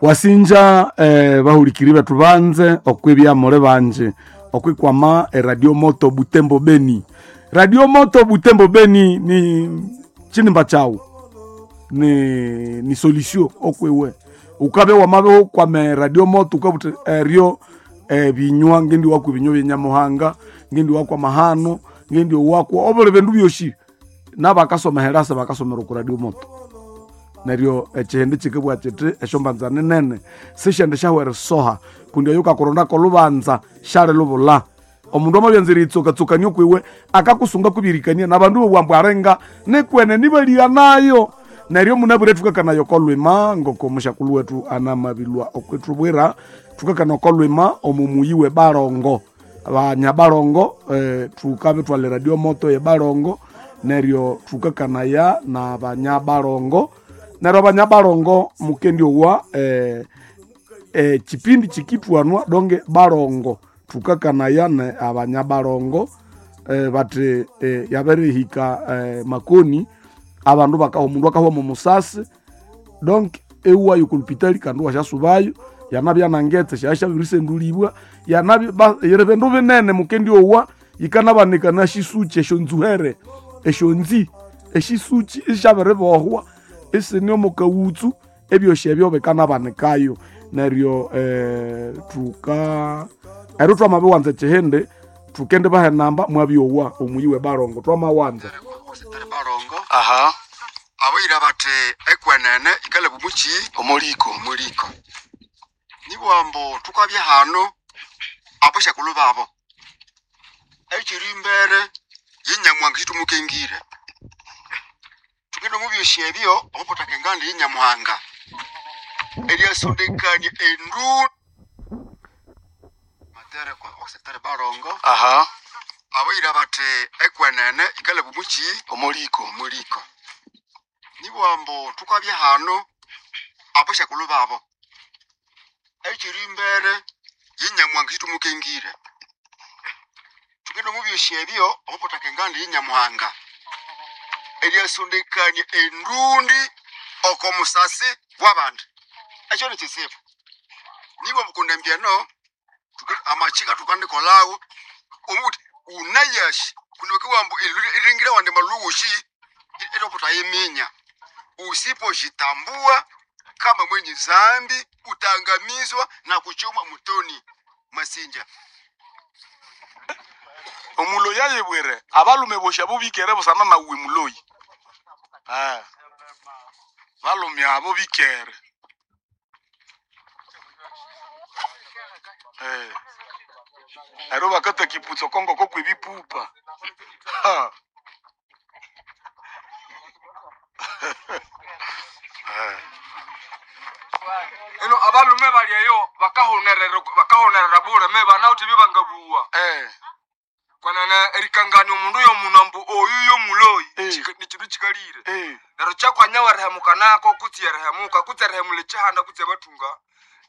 Wasinja bahulikiri bethu banze okwibya muli banji okwikwama eradio moto Butembo Beni. Radio Moto Butembo Beni ni chinimba chawu ni solution okwiwe ukabe wamabe kwame radio moto ukabuti eryo binywa ngendi wakwa binywa byenyamuhanga ngendi wakwa mahano ngendi wakwa obuli bindu byoshi nabakasoma herasa bakasomera ku radio moto neryo ekihindi kikibwa kiti esyombanza ninene sishende syahwera soha kundi oyo ukakurondako lubanza syali lubula omundu amabyanza eriyitsokatsokania okwiwe akakusunga kubirikania nabandu bobwambu arenga nikwene nibalia nayo neryo munabwire thukakanayo okolwima ngoko omushakulhu wethu anamabilwa okwithubwira thukakana okolwima omu muyi we Barongo banya Barongo thukabe thwala radio moto ye Barongo neryo thukakanaya na banya Barongo neryo abanya Barongo mukendi owa chipindi chikitwanwa donge Barongo thukakanaya ne abanya Barongo bati yabirihika makoni abandu bakaha omundu akahwa omu musasi donc ewayo kulupitali kandi wasyasubayo yanabya nangetse syasyabirisendulibwa yanabya bindu binene mukendi owa yikanabanikana shisuchi esyonzuhere esyonzi eshisuchi isyabiribohwa isine omu kawutsu ebyosi ebyo bikanabanikayo neryo thuka eryo twamabiwanza ekihindi thukende baha enamba mwabyowa omuyi we Barongo twamawanza. Barongo. Aha. Abayira bati ekwenene ikalaba omuki omuliko omuliko nibwambu thukabya hano abashakulhu babo ekiri imbere yenyamuhanga situmukengire thugende omu byosi ebyo omupotaka enganda yenyamuhanga eryasondekania endu matere kwa osekitari Barongo. Aha. Abayira bati ekwenene ikalaba omuki omuliko omuliko nibwambu thukabya hano abashakulhu babo ekiri imbere yenyamuhanga situmukengire thugende omu byosi ebyo omupotaka enganda yenyamuhanga eryasondekania endundi oko musasi wabandi ekyo nikyisibu nibwambu kundi embyeno amachika tukandikolawo omuti unayashi kundi wakiwambu iringira wandi malugushi etoputayiminya usipojitambua kama mwenye zambi utaangamizwa na kuchomwa motoni masinja. Omuloyi ayebwere abalume bosha bubikere busana nawe muloyi balume abo bikere ero bakata kiputso kongo ko kwibipupa. Eno abalume bali eyo bakahonerera bure me banawuthe byebangabuwa kwanene erikangania omundu yomundu ambu oyu yomuloyi nikindu kikalire neryo kyakwanya werihemuka nako kutsi erihemuka kutsi erihemula ekihanda kutsi abathunga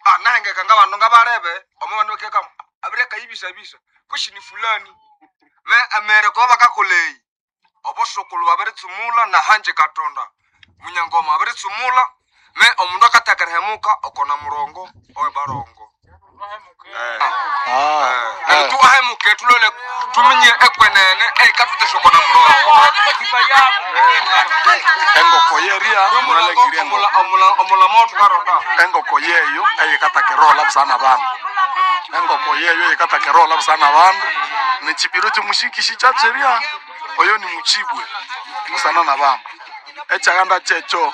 anahengeka ngabandu ngabalebe omo bandu bakeka abirekayibisabisa kushi ni fulani me emere kuba bakakola eyi obosukulhu babiritsumula nahanje katonda munyangoma abiritsumula me omundu akatheka erihemuka okona murongo owe Barongo. Neryo tuahemuke tulole tuminye ekwenene eikathuthesya okona murongo. Engoko yeria mulalekirie engoko. Omulamo thukaronda Engoko yeyo eyikatakerola busana bandu engoko yeyo eyikatakerola busana bandu nichipiro chimushikishi chacheria oyo ni muchibwe busana na bandu echaganda checho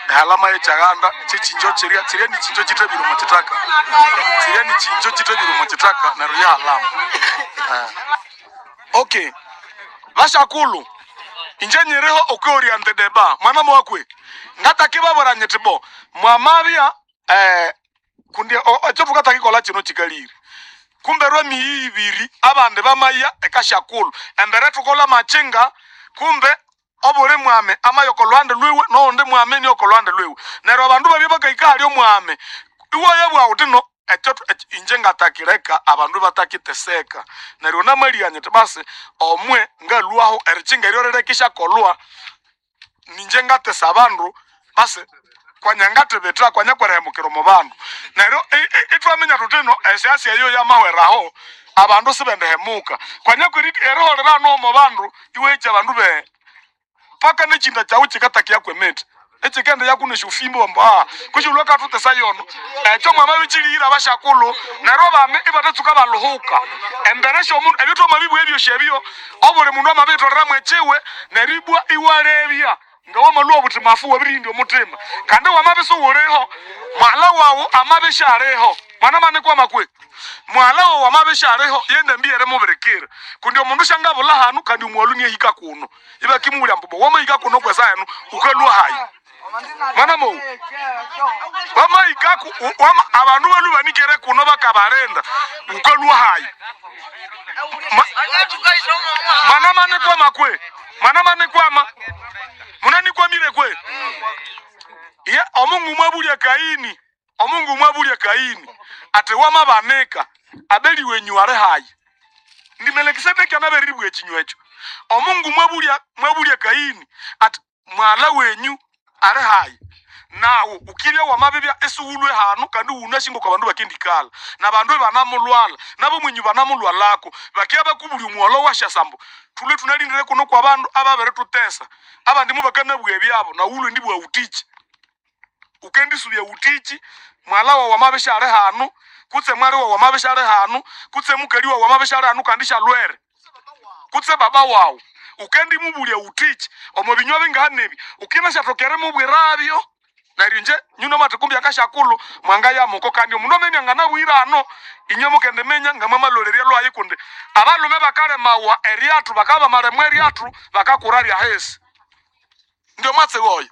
ehalama yechaganda chichinjo chiria chiria ni chinjo chitebire muchitaka chiria ni chinjo chitebire muchitaka neryo yahalama. Okay bashakulu inje nyiriho okwioriante deba mwana mwakwe ngataki babora nyiti bo mwamabya kundi ekyo thukatakikola kino kikalire kumbe rwemiyi ibiri abandi bamaya ekashakulu embere thukola machinga kumbe obuli mwame amayoko lwande lwiwe nowundi mwame niyoko lwande lwiwe neryo abandu babya bakahika hali omwame iwaya bwawuthi no ekyo inje ngatakireka abandu batakiteseka neryo namalya nyiti basi omwe ngalwaho erichinga eryo rirekishakolwa ninje ngatesa abandu basi. Kwanyangatibita kwanyakwerehemukira omu bandu. Neryo itwaminya tuti ino esiasi eyo yamahweraho abandu sibendihemuka. Kwanyakweri eriholera hano omu bandu iwahikya abandu be paka nechinda kyawu kikatakiyaku emiti ekikende yakuna esyofimbo ambu kushilwa katutesa yono ekyo mwamabikilihira abashakulhu neryo abami ibatatsuka baluhuka embere syomundu ebyo twamabibugha ebyosi ebyo obuli mundu amabiyitholeramu ekyiwe neryo ibwa iwalebya nga wamalhwa obuthi mafu wabirihindya omuthima kandi wamabya isiwuliho mwalha wawu amabya isyaliho mwana manikwama kwe mwalha wawu amabya isyaliho yendambi yerimubirikira kundi omundu syangabulha hanu kandi omwalhu niahika kuno ibakimubulya ambu wamahika kuno kwesa enu wukalhwa hayi mwana mowu wamahikaku abandu balhwe banikere kuno bakabalinda wukalhwa hayi mwana manikwama kwe mwana manikwama munanikwamire kwe ye omungu mwabulya Kaini omungu mwabulya Kaini ati wamabanika Abeli wenyu ali hayi ndi Melikisedeki anaberiribwa ekinywa ekyo omungu mwabulya Kaini ati mwala wenyu ali hayi nawu ukibya wamabibya isiwulwe hanu kandi wunashinga kwa bandu bakendikala na bandu banamulwala nabo mwenyu banamulwalako bakia bakubulya omuwalo washasambo thulwe thunalindire kuno kwa bandu ababiritutesa abandi mubakanabugha ebyabo nawulwe ndibugha wutiki ukendisubya wutiki mwala wawu amabya isyali hanu kutse mwali wawu amabya isyali hanu kutse mukali wawu amabya isyali hanu kandi isyalwere kutse baba wawu ukendimubulya wutiki omo binywa bingahanebi ukinasyathoka erimubwirabyo neryo inje nyuno mathikumbi akashakulhu mwangayamuko kandi omundu amenya nganabwire hano inywe mukendiminya ngamwamalolerya lwayi kundi abalume bakalemawa eryathu bakabya bamalemwa eryathu bakakura ryahisi ndio mwatsi woyo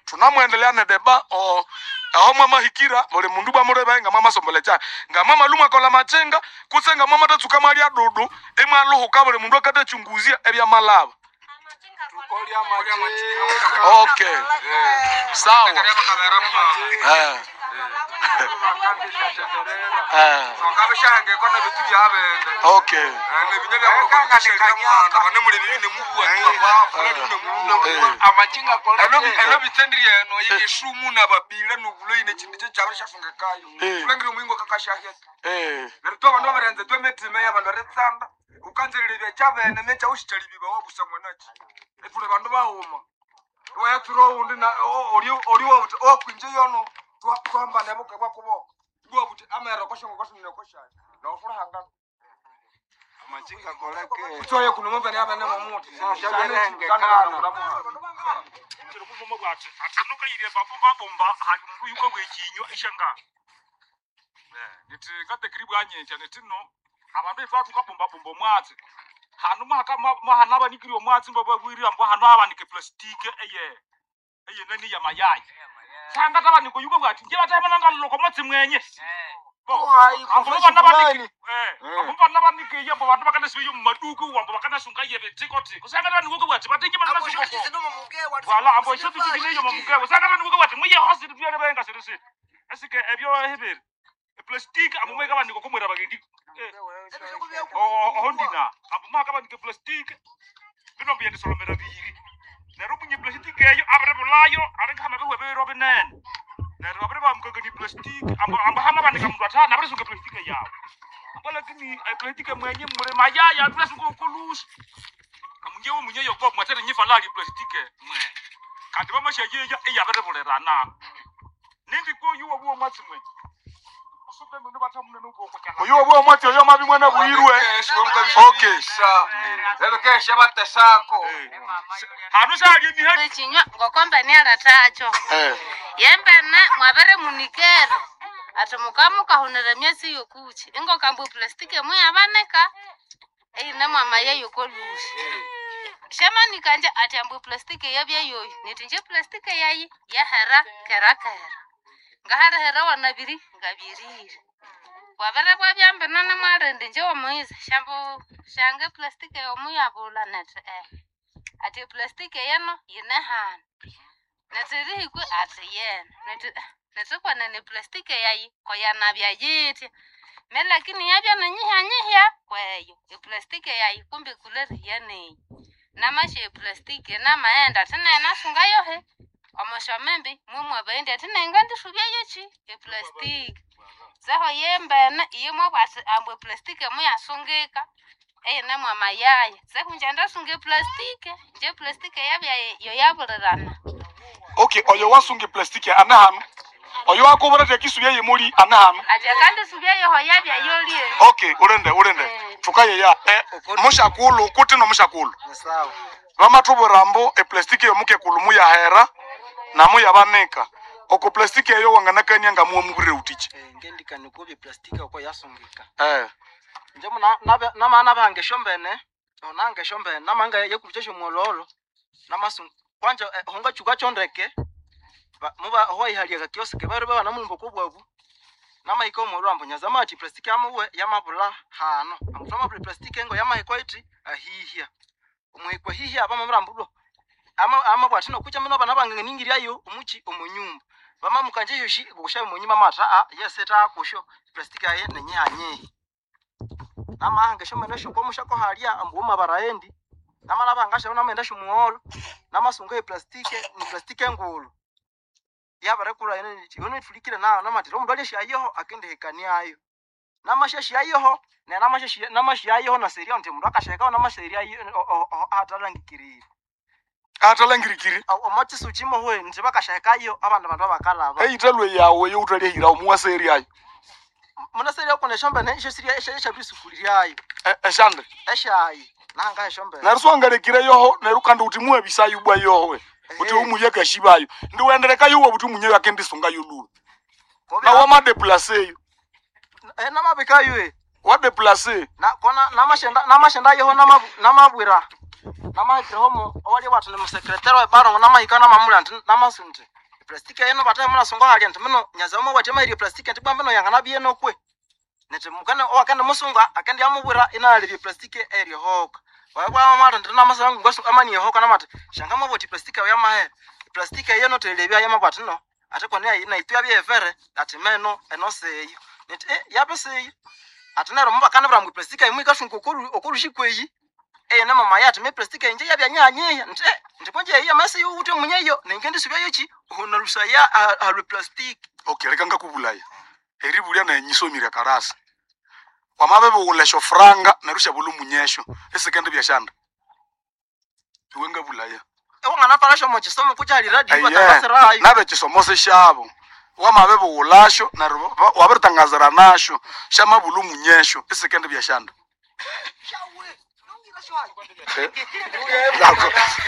thunamwendelea nedeba aho mwamahikira buli mundu bwamuleba ngamwamasombola kyayi ngamwamalhu mwakolha machinga kutse ngamwamatatsuka mwalya dudu imwaluhuka buli mundu akatachunguzya ebyamalaba. Okay. Sawa. Okay. Elo bitendiri eno yishumu na babila nubulo ine chindu kyabo syasungekayo kulengire omuyingo kakashaheka neryo twa bandu babarenze twa emitima y'abandu eritsanda ukanzirira ebyachabene mekya ushichalibibwa wabusa mwanaki ethule bandu baghuma wayatsura owundi na oli oli wabuthi okwinje yono twahambana buke bwakuboko ibwabuthi amera koshongo koshongo koshayo nawufulahangana Amachinga koleke. utsoye kuno mambene abene momuthi Niti ngatekiri bwanyentya niti no abandu itwathukabumbabumba omwatsi hanu mahana abanikire omwatsi mbababwire ambu hanu abanike plastiki eye eyenani yamayayi sangatabanika oyuka bwati nje batahimana omwatsi mwenye ambu bana banike ambu bana banike ambu bandu bakanasibiye mumaduku ambu bakanasunga ye bitiko-tiko sangatabanika bwati batinje bananasunga wala ambu esyo mamukewe sangatabanika bwati muye hosi byane benga sirisiri esike ebyo hebere plastic ambu mweka bandika kumwera bagendi ohondina ambu mwaka bandika plastic bino byendisolomera biyiri neryo munye plastic eyo abiri bulayo alinga hama biwe binene neryo babiri bamukangania plastic ambu ambu hama bandika mundu athana abirisunga plastic yawe ambu lakini plastic mwenye muli mayaya atulasunga okolusi amunyewe munye yokuba mwathere nyifalali plastic mwe kandi bamashayeya eyabiribulirana nindi koyu wabuwa mwatsi mwe oyo obwo omwatsi oyo amabi mwana bwirwe. Okay. Ebekesha batesako. Hanu sali emihe Ekinywa ngokomba nialathacho. Yembene mwabere munikere ati mukamukahunira emyatsi yokuchi ingokamba eplastiki muyabanika eine mwamaya yokolusi shamanika nje ati ambu eplastiki yabya yoyo niti nje eplastiki yayi yahera kera kera ngaharihera wanabiri ngabirire wabere bwabya mbinene mwalindi nje wamuyiza shambu shange eplastiki yomuyabula neti ati eplastiki yeno yine hanu neti rihikwe ati yena neti neti kwenene eplastiki yayi koyanabya yitya me lakini yabya ninyihya nyihya kweyo eplastiki yayi kumbe kulerihiya neyi namasha eplastiki namaghenda ati nayi nasunga yohe. Omoshomembe mwemwabaendi ati nenga ndisubyayochi eplastiki. Seho yembene iye mwabwati ambu eplastiki muyasungika eyine mwamayaya. Seho nje ndasunga eplastiki, nje eplastiki yabya yoyabulirana. Okay, oyo wasunga eplastiki ane hano. Oyo wakubura tekisubya yemuli ane hano. Ati akandisubyayoho yabya yolie. Okay, ulende. Tukaye ya mushakulu kuti no mushakulu. Sawa. Vamathubwira ambu eplastiki yomukekulu muyahera na muyabanika. Oko plastiki eyo wanganakania ngamuwa mubwire utichi. Ngendikani kubye plastiki oko yasungika. Nje namana bange shombene, onange shombene, namanga yekurucha shomwololo. Namasunga kwanja honga chuka chondeke. Muba ho ihalia kiosike bari baba namulumbo kobwabu. Namaika omwololo ambu nyazama ati plastiki amuwe yamabula hano. Amutama buli plastiki engo yamahikwa iti ahihia. Omuhikwa hihia abamamrambulo. Ama bwatino kucha mino bana bange ningiryayo omuchi omunyumba. Bama mukanje yoshi gusha munyuma mata a yeseta kusho plastiki aye nenyanye. Nama hange shomene shoko mushako halia ambu mabaraendi. Nama nabanga shona menda shumuholo. Nama sunga plastiki ni plastiki ngulu. Yabarekura ene yono ifulikire na namatiro omundu alye shayeho akende hekaniayo. Nama shashayeho ne nama shayeho na seria nti mundu akasheka nama seria atalangikirire. Atalangirikiri. Omotsi uchimo hwe nti bakashekayo abandu bandu bakalaba. Eyitalwe yawe yowutalya omuwa seria ayo. Muna seria kone shombe ne isho seria esha esha bisukuliryayo. Eshande. Eshayi nanga eshombe. Neruswangalekire yoho neru kandi uti muwe bisayu bwa yoho. Uti umuye kashibayo. Ndiwendereka yuwo buti umunye yakendisunga yolulu. Na wama deplace yo. Namabikayo e. Wa deplace. Na kona namashenda yoho namabwira. Namahikire owali watu ni musekretari wa barongo namahika namamula nti namasunti. Plastiki eno bataye muna sunga hali nti mino nyaza mo wati mairi plastiki nti bwa mino yangana biye nokwe. Nti mukane owakende musunga akende yamubwira inalibye plastiki eri hoka. Wabwa mama nti namasangu ngasu amani hoka namati shanga maboti plastiki ya mahe. Plastiki eno telebya yamabati no. Ate kone na itwa bye fere ati meno eno seyo. Nti yabe seyo. Ati nero mubakana bra mu plastiki imwe kasungu okurushikweyi. Na mama yati me plastiki nje yabya nyanye nti nti konje iya masi ute munyeyo nengende subya yochi ona lusaya ha plastiki. Okay, reka ngakubulaya. Eribulya na nyisomira karasa. Wamabe buwulesho franga nerusha bulu munyesho. Esekende byashanda. Iwe ngabulaya. Ewangana parasho mo chisomo kuchali radio batangasira ayo. Nabe chisomo se shabo. Wamabe buwulasho na wabiritangazira nasho shama bulu munyesho. Esekende byashanda.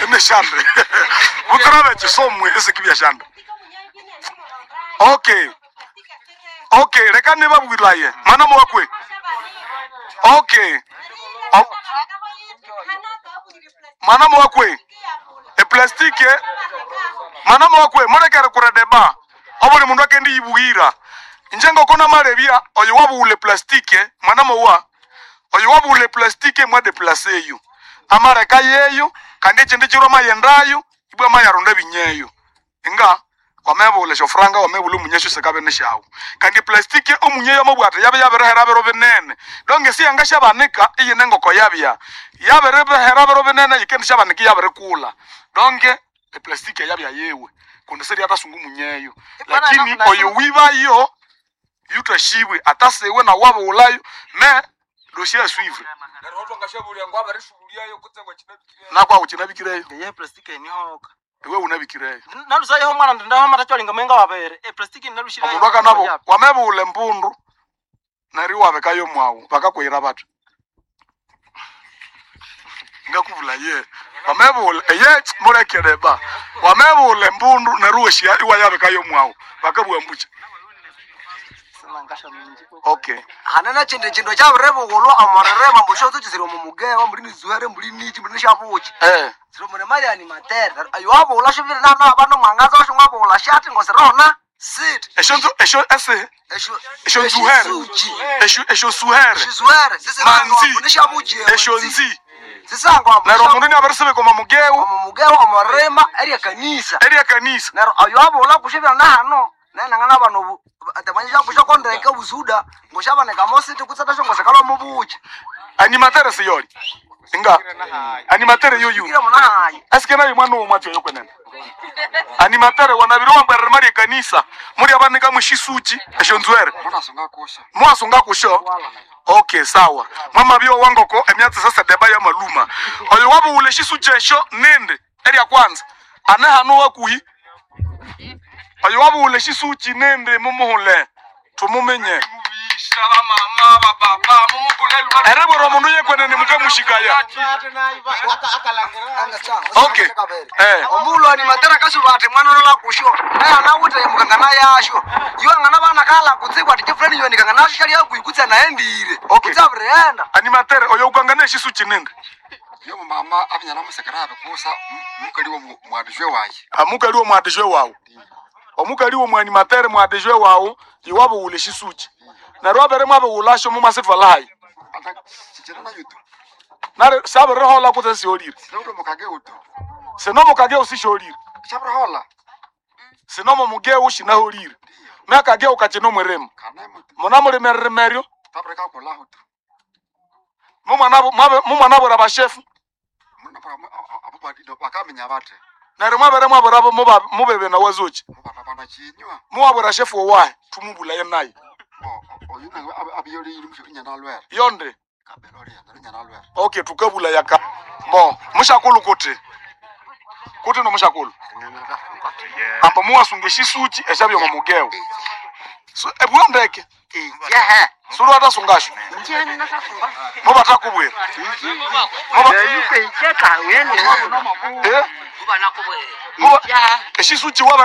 Emeshande. Bukarabe chisomwe esekibyashanda. Okay. Okay, reka nibabwiraye. Mwana mwakwe. Okay. Mwana mwakwe. E plastike. Mwana mwakwe murekere kuredeba. Obuli mundu akendi yibugira. Njengo kona marebia oyo wabule plastike mwana mwa. Oyo wabule plastike mwa deplace yo. Amareka yeyo kandi echindi chiro mayendayo ibwa mayaronda binyeyo. Inga wamebule shofranga wamebule munyesho sekabe neshawo. Kandi plastiki omunyeyo mabwata yabe yaberehera bero binene. Donge si anga shabanika iyi nengoko yabya. Yaberehera bero binene yikendi shabanika yaberekula. Donge e plastiki yabya yewe. Kundi seri atasungu munyeyo. Lakini oyo wibayo yutashiwe atasewe na wabo ulayo me dossier à suivre. Nakwa uchinabikireyo. Ye plastiki ni hoka. Iwe unabikireyo. Nalusayo mwana ndaho matacholinga mwenga wabere. E plastiki nalushira. Omundu akanabo wamebule mpundu nari wabekayo mwawu bakakwira batu. Ngakubula ye. Wamebule ye murekere ba. Wamebule mpundu nari weshia iwa yabekayo mwawu bakabwa mbucha. Okay. Hanana chinde chindo chaburebugulwa omorere mambusho tuchisire omumugewa muri nizuhere muri nichi muri nishabuchi. Siro muri mali ani matere. Ayo wabula shivire na na bano mwangaza washo ngwabula shati ngosirona. Sit. Esho esho ese. Esho esho nzuhere. Esho esho suhere. Shizuhere. Sisi manzi. Nishabuchi. Esho nzi. Sisango Nero mundu ni abarisebe koma mugewa. Omugewa omorema eri kanisa. Eri kanisa. Nero ayo wabula kushivira na hano. Nena ngana bano atamanyisha kusha kondreka buzuda ngoshabaneka mositi kutsata shongo sakala mubuchi. Animatere siyori. Inga. Animatere yuyu. Kira muna hayi. Aske nayo mwana wo mwacho yokwenene. Animatere wanabiri wambwerere mali ekanisa muri abanika mwishisuchi esyo nzwere Munasunga kusha. mwasunga kusho. Okay, sawa mwamabio wangoko emyatsi sasa deba ya maluma oyo wabuwula eshisuchi esyo nindi erya kwanza ane hano wakuhi oyo wabuwula eshisuchi nindi mumuhule tumumenye. Mubisha ba mama ba baba mumukule. Erebwera omundu yekwenene mukamushikaya. Okay. Omulo ni matera kasuba ati mwana lola kusho naye anawuta yemukangana yasho iwangana bana kala kutsikwa ati chifulani yoni kangana nasho shali yakuikutsa naendire. Okay. Kutsa abirienda. Animatere oyo ukangana eshisuchi nindi. Yo mama abinyana musekera abikusa mukali wo mwadijwe waye. Amukali wo mwadijwe wawu. Omukali wo mwanimatere mwadijwe wawu iwabuwula eshisuchi neryo abere mwabiwulasho mumasitwalahayi. Ata chichira na yutu. Nare sabirihola kutse siholire. Sinoto mukage utu. Sinomo kageu sisholire. Chabrohola. Sinomo mugeu shinaholire myakageu kachino mwirimo. Kana mutu. Munamulimeremeryo. Tabreka kula hutu. Mumwanabura bashefu. Muna abo badido bakamenya bate. Neryo mwabere mwabura mubebe na wazochi. Mubana bana chinywa. Muwabura shefu owahe tumubulaye naye. Oyu nawe abiyoli imusho inyana lwere. Yonde. Kabelo le inyana lwere. Okay, tukabula yaka bo mushakulu kuti kuti no mushakulu amba muwasunga eshisuchi eshabyo mumugeu so ebwandeke sulu atasungasho mubatakubwira. Muba eshisuchi waba.